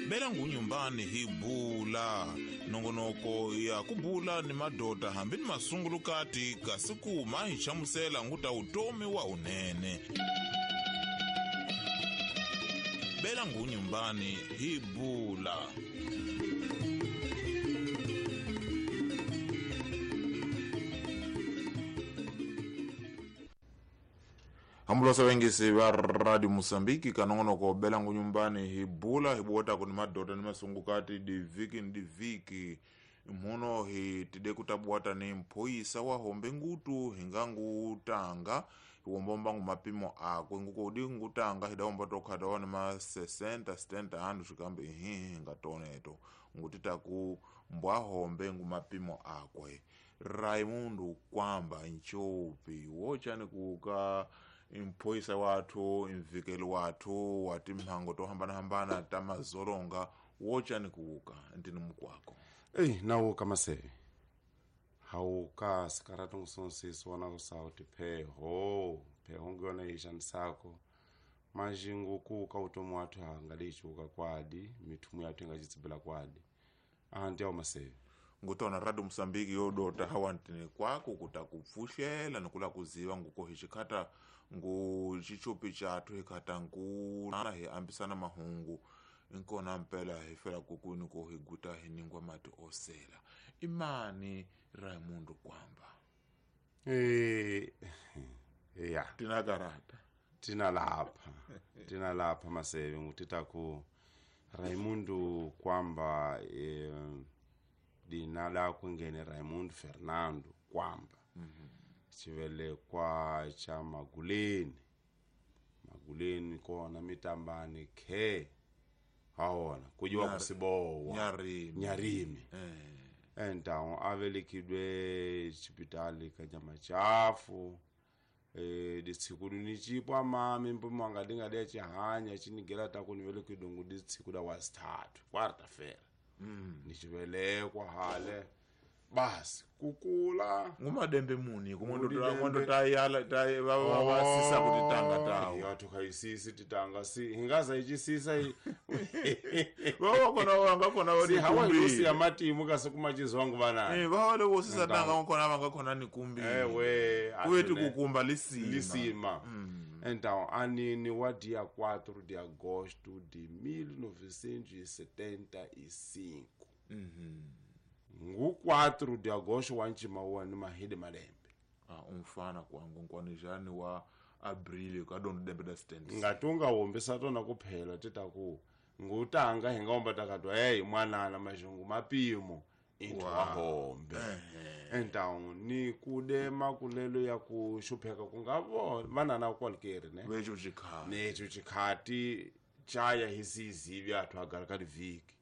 Bela ngunyumbani hi bula nongonoko ya ku bula ni madoda hambi ni masungulukati kasi kuma hi hlamusela nguta utomi wa unene. Bela ngunyumbani hi bula. Hambulosa vengisi va Radio Mozambique ka nongonoko bela ngunyumbani hi bula hi buwetako ni madoda ni masungukati divhiki ni divhiki mhuno hi tide ku tabuwata ni mphoyisa wa hombe ngutu hi nga ngutanga hi wombomba ngu mapimo akwe ngukodi ngutanga hi dawomba tokhata wa ni ma 60 70 handu xikambe ihihi hi nga toneto ngutitaku mbwa hombe ngu mapimo akwe. Raimundo Kwamba Nchopi wochani kuka mphoyisa wathu mvikeli wathu wa timhango to hambanahambana ta mazoronga wochani kuuka ntini mukwako. Eyi nawuka maseve hawuka sikarati ngusonsisi wona kusauti pheho pheho ngiyona yixanisako manjingu kuuka utomi wathu hangalichuka kwadi mithumu yathu ingacitsibila kwadi ahanti yawo maseve ngutona Radio Mozambique yodota hawantini kwako kutakupfuxela nikula kuziva nguko hi xikhata ngu xichopi chathu hi khata nkuna hi ambisana mahungu nkona mpela hi fela kukwini ko hi guta hi ningwa mati osela. Imani Raimundo Kwamba? Ya tina karata tina lapha maseve ngutitaku Raimundo Kwamba dina lakwe ngene Raimundo Fernando Kwamba. Xivelekwa xa Maguleni kona mitambani khe haona kujiwa kusibowa Nyarimi entawo avelekidwe xipitali ka nyama chafu ditshiku ni chipwa mami mpumo anga dinga de chihanya chinigela ta ku ni velekidwe ngu ditshiku da wasithathu kwarta fela. Ni xivelekwa hale basi kukula ngumadembe muni kumondo tayala tay va sisa kuti tanga tawo ya tukayisisi titanga si hingaza ichisisa va kona vanga kona va si hawa yosi ya matimu kasi kumachizwangu vana va wale wo sisa tanga kona vanga kona ni kumbi ewe kuvetu kukumba lisima Então, anini wa dia 4 de agosto de 1975. Ngu 4 de agosto wa nchima wa ni mahidi malembe. Umfana kwangu nkwanijani wa abrili ka dondo dembe da stand. Ngatunga wombisa tona kuphela titaku ngutanga hingaomba takatwa hey mwanana majungu mapimo into wahombe. Então ni kudema kulelo ya kushupheka kungavo vanana kwalikeri ne vecho chikhati necho chikhati chaya hisizivi athu agara ka livhiki.